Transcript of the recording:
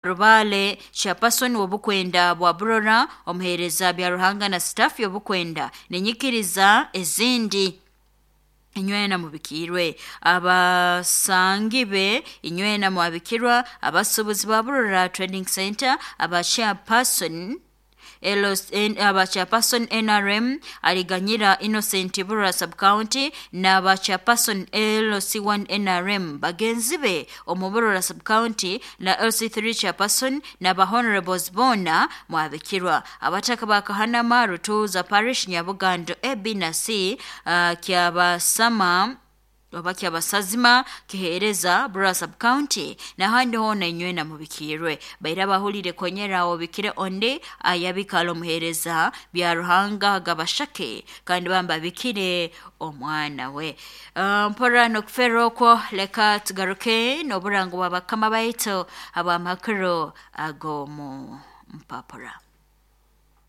Rubale chairperson w'obukwenda bwa Burora, omuheereza Byaruhanga na staff y'obukwenda nenyikiriza ezindi inywena mubikirwe. Abasangi be inywena mwabikirwa, abasuubuzi ba Burora Trading Center, aba chairperson aba chairperson NRM Aliganyira Innocent Burora Sub-County n'aba chairperson LC1 NRM bagenzi be omu Burora Sub-County na LC3 chairperson n'aba honorables boona mwabikirwa. Abataka ba Kahanama, Rutuuza Parish, Nyabugando A, B na C, Kyabasama oba kyabasazima kiheereza Burora Sub-County n'ahandi hoona inywena mubikirwe. Baira abahulire konyera obikire ondi ayabikala omuheereza Byaruhanga Gabashake kandi bamba abikire omwana we. Mpora n'okufeerwa okwo, leka tugaruke n'oburango bwa bakama baitu ab'amakuru ag'omu mpapura.